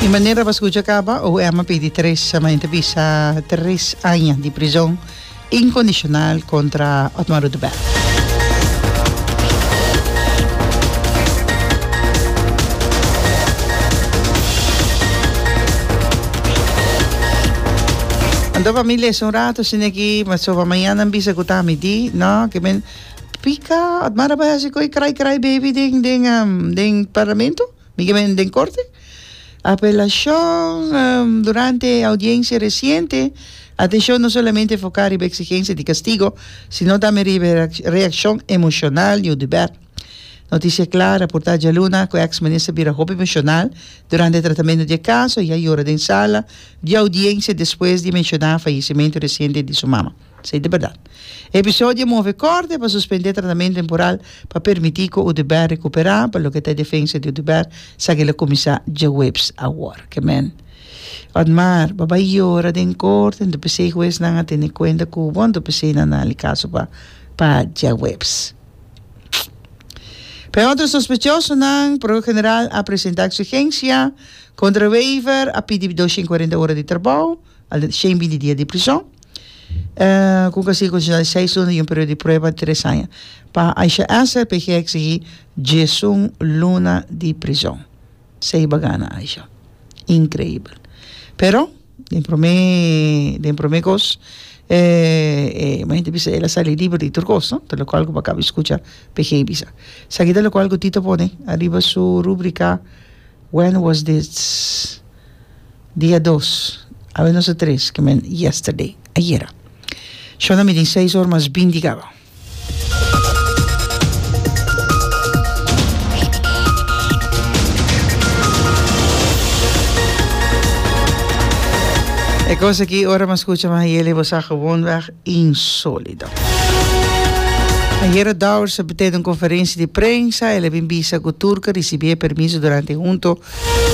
Di manera pa scucha caba, OM a pidi tres, a ta bisa tres aña di prison incondicional contra Otmar Oduber. Anto pa mi lesa un rato asina aki, pasobra mañana nan bisa cu ta mi di, no, ke men pica, Otmar a bai haci cu e cry cry baby den den den parlamento? Mi ke men den korte. Apelashon Durante e audiencia reciente, atencion no solamente enfoca riba exigencia di castigo, sino tambe riba e reaccion emocional di Oduber. Noticia Cla a raporta djaluna cu e ex-minister bira hopi emocional durante e tratamento di e caso y a yora den sala di audiencia despues di menciona fayecimento reciente di su mama. Esei ta bèrdat. E episodio a move korte pa suspendé tratamentu temporal pa permití ku Oduber rekuperá. Pa loke ta e defensa di Oduber, esaki lo kuminsá djaweps awor. Ke men. Otmar, bo bai yora den korte, anto p'esei huesnan a tene kuenta ku bo, anto p'esei nan a hali kaso pa pa djaweps. Pa e otro sospechosonan, Prokuror General a presentá eksigensia kontra Wever, a pidi 240 ora di trabou. Al shen binti dia di prison, ku un kastigo kondisional di seis luna i un periodo di prueba di tres aña. Pa Aisha Esser, PG a eksigí diesun luna di prison. Sei bagana Aisha. Inkreibel. Pero, den promé, den promé kos, e e hende bisa el a sali liber di tur kos, no? Ta lokual ku bo a kaba di skucha PG bisa. Esaki ta lokual ku Tito pone ariba su rubrika When was this? Dia dos, awe nos a tres, ke men yesterday, ayera. Shona mi tin seis or mas binti kaba. E kos aki ora mi a skucha Mahayeli bo sa gewoonweg insólito. Ayera Dowers a tene un konferensia di prensa, el a bin bisa ku tur ku a risibí e permiso durante hunto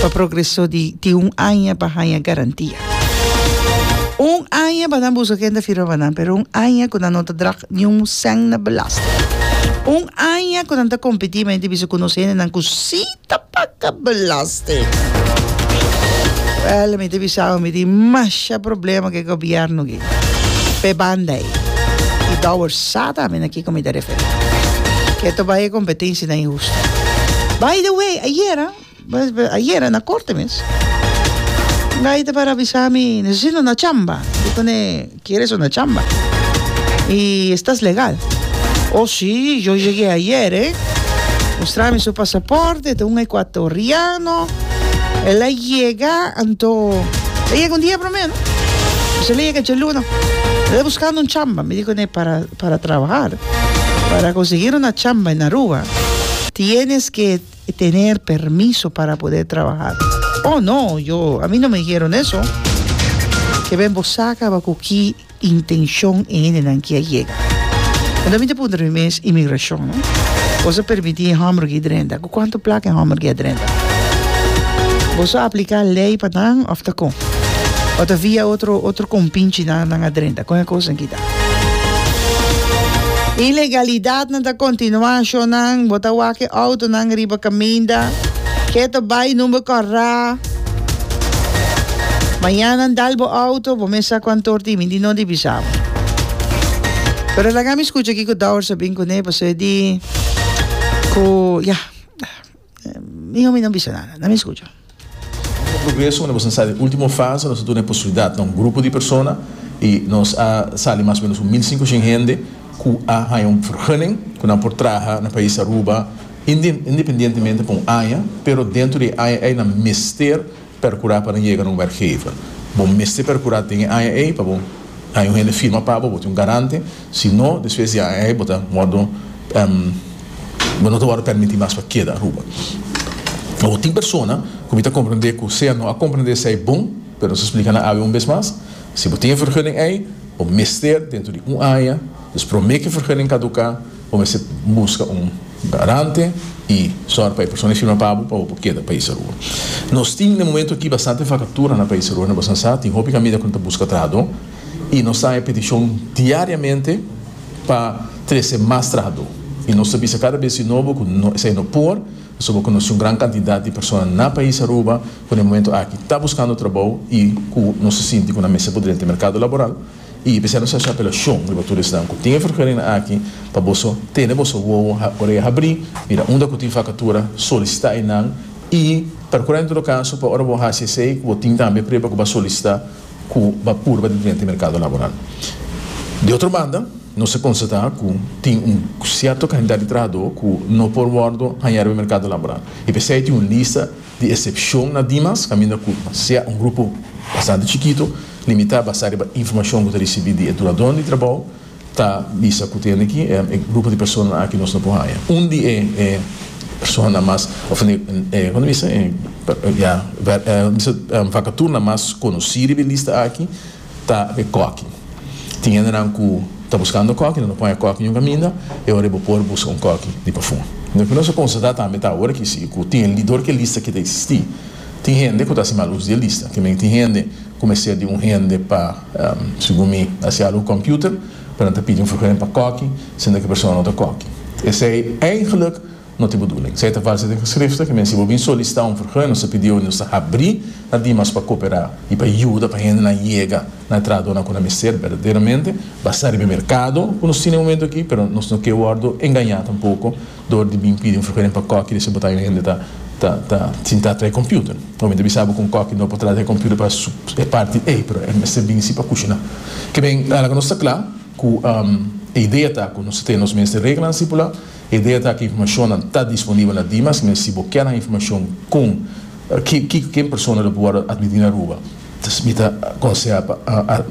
pa progreso di tin un aña pa haña garantia. Un aña pa nan buska ken ta firma pa nan, pero un aña ku nan no ta drag niun sèn na belasting. Un aña ku nan ta kompetí, ma hende bisa ku nos hendenan ku sí ta paga belasting. Wèl, mi ta bisa bo, mi tin masha problema ku e gobièrnu aki, p'e banda ei. I Dowers sa tambe na kiko mi ta referí. Ke ta bai e kompetensianan inhustu. By the way, ayera, ayera na korte mes, un gai ta para bisa mi, Necesito una chamba. Di kuné, Quieres una chamba? Y estás legal? Oh sí, yo llegué ayer, eh. Mustrami su pasaporte, ta un ecuatoriano. El a yega, anto, el a yega un dia promé, no? Pues el a yega djaluna. El ta buscando un chamba. Mi di kuné, para, para trabajar, para conseguir una chamba en Aruba, tienes que tener permiso para poder trabajar. Oh no, yo, a mi no me dijeron eso. Ke ben bo sa kaba ku ki intencion e hendenan ki a yega. Anto mi ta puntra mi mes, inmigracion, no? Boso a permiti e homber ki drenta? Ku kuantu plaka e homber ki a drenta? Boso a aplica ley pa nan of ta kon? O ta via otro, otro kompinchinan nan a drenta? Kon e kosnan ki ta? Ilegalidadnan ta kontinuá, shonnan. Bo ta wak e outonan riba kaminda. Ke ta bai number kòrá. Mañana nan dal bo outo, bo mes sa kuantu or tin. Mi di no di bisa bo. Pero laga mi skucha kiko Dowers a bin kuné, pasobra e di ku, ya, miho mi no bisa nada. Na mi skucha. Un progreso unda nos a sali ultimo fase, nos a duna e posibilidad na un grupo di persona y nos a sali mas o menos un 1500 hende cu a haya un vergunning cu nan por traha na pais Aruba independientemente pa un aña, pero dentro di e aña ey nan mester percura pa nan yega na un werkgever. Bo mester percura den e aña ey pa bo haya un hende firma pa bo, bo tin un garante, si no despues di e aña ey bo ta wordo. Bo no ta wòrdu pèrmití mas pa keda Aruba. Awor tin persona ku mi ta komprendé ku sea no a komprendé esei bon, pero nos a splika nan awe un bes mas, si bo tin e vergunning ei, bo mester dentro di un aña, dus promé ku e vergunning kaduká, bo mester buska un garante i sòru pa e persona ei firma pa bo pa bo por keda pais Aruba. Nos tin na e momento aki bastante vakatura na pais Aruba, na boso sa tin hopi kaminda ku no ta buska trahadó i nos ta haña petishon diariamente. pa trese mas trahadó. I nos ta bisa kada bes di nobo ku no esei no por, Pasobra ku nos tin un gran kantidat di persona na pais Aruba ku na e momento aki ta buskando trabou i ku nos ta sinti ku nan mester por drenta e merkado laboral. I p'esei nos ta hasi apelashon riba tur esnan ku tin e vergunning aki pa boso tene boso wowo orea habrí, mira unda ku tin vakatura, solisitá einan i perkurá en todo kaso pa ora bo hasi esei ku bo tin tambe prueba ku bo a solisitá ku bo a purba di drenta e merkado laboral. Di otro banda, nos a konstatá ku tin un sierto kantidat di trahadó ku no por wòrdu hañá riba e merkado laboral. I p'esei tin un lista di esepshon na Dimas kaminda ku sea un grupo bastante chikitu, limitá basá riba informashon ku ta risibí di e dunadónan di trabou, ta bisa ku tende ki e grupo di personanan aki nos no por haña. Un di e e personanan mas òf e e kon ta bisa e ya bisa vakaturnan mas konosí riba e lista aki ta e kòki. Tin hendenan ku ta buskando kòki, nan no por haña kòki niun kaminda, e ora bo por buska un kòki di pafó. Loke nos a konstatá tambe ta awor aki si ku tin e dor ku e lista aki ta eksistí, tin hende ku ta hasi mal uso di e lista. Ke men tin hende ku mester di un hende pa, segun mi, hasi algu ku kòmpiuter, pero nan ta pidi un vergunning pa kòki, siendo ku e persona no ta kòki. Esei eigenlik No tin bedoeling. Esei ta valsa den geschriften, ke men si bo bin solisitá un vergunning, nos ta pidi bo, nos ta habrí na Dimas pa koperá i pa yuda pa hendenan yega na e trahadónan ku nan mester berdaderamente, basá riba e merkado ku nos tin na e momento aki, pero nos no ke wòrdu engañá tampoko dor di bin pidi un vergunning pa kòki di si bo ta un hende ta ta ta sintá traha e computer. Bo mi ta bisa bo ku un kòki no por traha e computer pa su e parti ei, pero e mester bin si pa kushiná. Ke men laga nos ta kla ku e idea ta ku nos ta tene nos mes den reglanan stipulá. E idea ta ku informashonnan ta disponibel na Dimas, men si bo kier nan informashon kon kiko ken persona lo por wòrdu atmití na Aruba, mi ta konsehá pa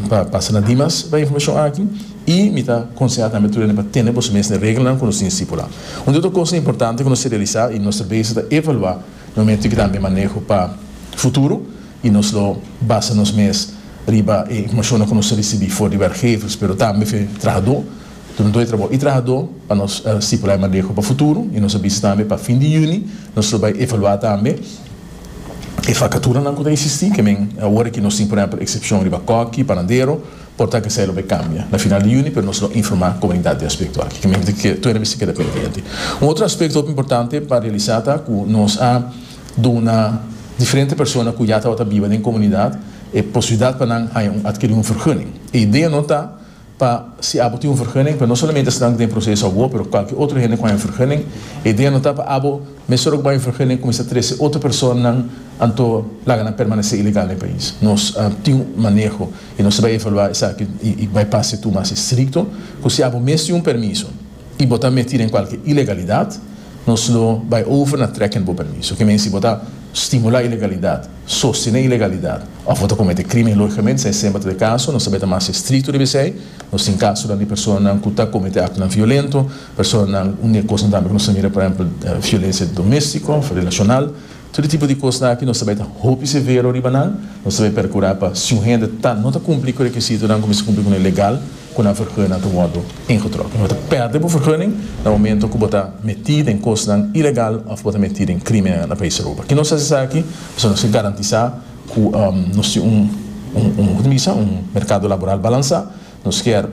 pa pasa na Dimas pa e informashon aki i mi ta konsehá tambe tur hende pa tene boso mes na e reglanan ku nos tin stipulá. Un di otro kosnan importante ku nos ta realisá i nos ta bezig ta evaluá na momento ki tambe maneho pa futuro i nos lo basa nos mes riba e informashonnan ku nos ta risibí for di werkgevers pero tambe for di trahadó. Dunadó di trabou i trahadó pa nos stipulá e maneho pa futuro i nos a bisa tambe pa fin di yüni nos lo bai evaluá tambe e vakaturanan ku ta eksistí. Ke men awor aki nos tin por ehèmpel eksepshon riba kòki, panadero, por ta ku esei lo bai kambia na final di yüni pero nos lo informá komunidat di e aspekto aki. Ke men ke tur hende mester keda pendiente. Un otro aspekto hopi importante pa realisá ta ku nos a duna diferente persona ku ya tabata biba den komunidat e posibilidat pa nan haña un atkirí un vergunning. E idea no ta Pa si abo tin un vergunning, pero no solamente esnan ku den proseso awor, pero kualke otro hende ku haña un vergunning, e idea no ta pa abo mesora ku bo haña un vergunning kuminsá trese otro personanan anto laga nan permanesé ilegal den pais. Nos tin un maneho i nos ta bai evaluá esaki i bai pasa e tur mas estrikto ku si abo mes tin un permiso i bo ta metí den kualke ilegalidat, nos lo bai over na trekken bo permiso. Ke men si bo ta stimulá ilegalidat, sostené ilegalidat òf bo ta kometé krímen, lógikamente esei semper ta e kaso, nos ta bai ta mas estrikto riba esei. Nos tin kasonan di personanan ku ta kometé aktonan violento, personanan, un di e kosnan tambe ku nos ta mira por ehèmpel violensia doméstiko òf relashonal. Tur e tipo di kosnan aki nos ta bai ta hopi severo riba nan. Nos ta bai perkurá pa si un hende ta no ta kumpli ku e rekisitonan ku mester kumpli ku nan legal, ku nan vergunning ta wòrdu ingetrokken. Bo ta pèrdè bo vergunning na momento ku bo ta metí den kosnan ilegal òf bo ta metí den krímennan na pais Aruba. Ki nos hasi esaki? Pasobra nos ke garantisá ku nos tin un un ku ta bisa un merkado laboral balansá. Nos kier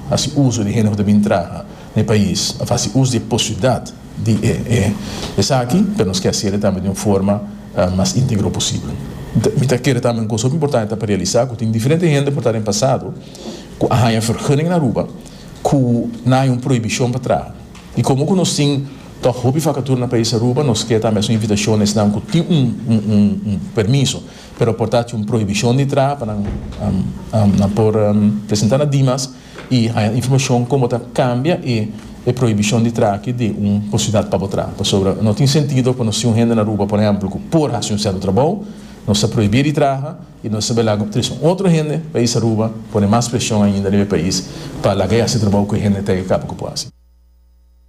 hasi uso di hende ku ta bin traha na e pais òf hasi uso di e posibilidat di e esaki, pero nos kier hasiel tambe di un forma mas íntegro posibel. Mi ta kere tambe un kos hopi importante ta pa realisá ku tin diferente hende por ta den pasado ku a haña vergunning na Aruba ku nan haña un prohibishon pa traha. I komo ku nos tin tòg hopi vakatura na pais Aruba, nos ke tambe hasi un invitashon na esnan ku tin un permiso pero por ta haci un prohibicion di traha pa nan nan por presenta na Dimas y haya informacion como ta cambia e e prohibicion di traha aki di un posibilidad pa bo traha. Pasobra no tin sentido pa nos tin un hende na Aruba por ehempel cu por haci un cierto trabou, nos ta prohibi di traha y nos ta bay laga trece un otro hende pais Aruba pone mas presion ainda riba e pais pa laga e haci trabou cu e hende ta e caba cu por haci.